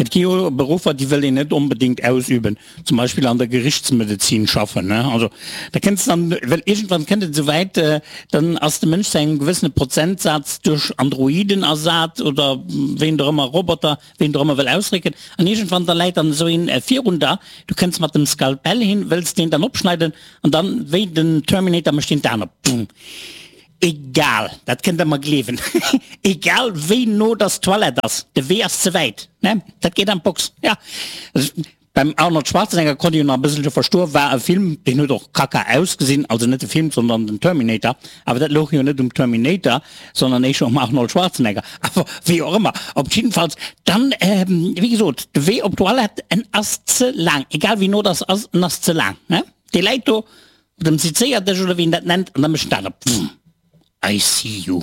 Et gi jo Beruffer, déi wëll een net onbedéngt ausüben, zum Beispill an der Gerichtsmedezin schaffen, ne? Also da kënns dann, well iergendwann kënnt et esou wäit, dann ass de Mënsch zu engem gewëssene Prozentsaz duerch Androiden ersat oder ween och ëmmer, Roboter, ween och ëmmer wëll ausrécken, an iergendwann da läit dann esou een virun der, du kënns mat dem Skalpell hin, wëlls deen dann opschneiden an dann, wéi den Terminator, mécht deen d'Aen op, Boom. Egal, dat kënnt der mer gleewen, egal wéi no dass d'Toilette ass, de Wee ass ze wäit, ne? Dat geet an d'Box, ja. Beim Arnold Schwarzenegger konnt ech jo nach e bësselche verstoen, war e Film, deen huet och kacka ausgesinn, also net de Film, sondern den Terminator, awer dat louch jo net um Terminator, sondern éischer um Arnold Schwarzenegger, awer wéi och ëmmer, op jiddefalls dann, wéi gesot, de Wee op d'Toilette, en ass ze laang, egal wéi no dass ass, en ass ze laang, ne? Dee läit do Op dem Sezéierdësch oder wéi een dat nennt, an da mécht en dat op, Wumm, I see you.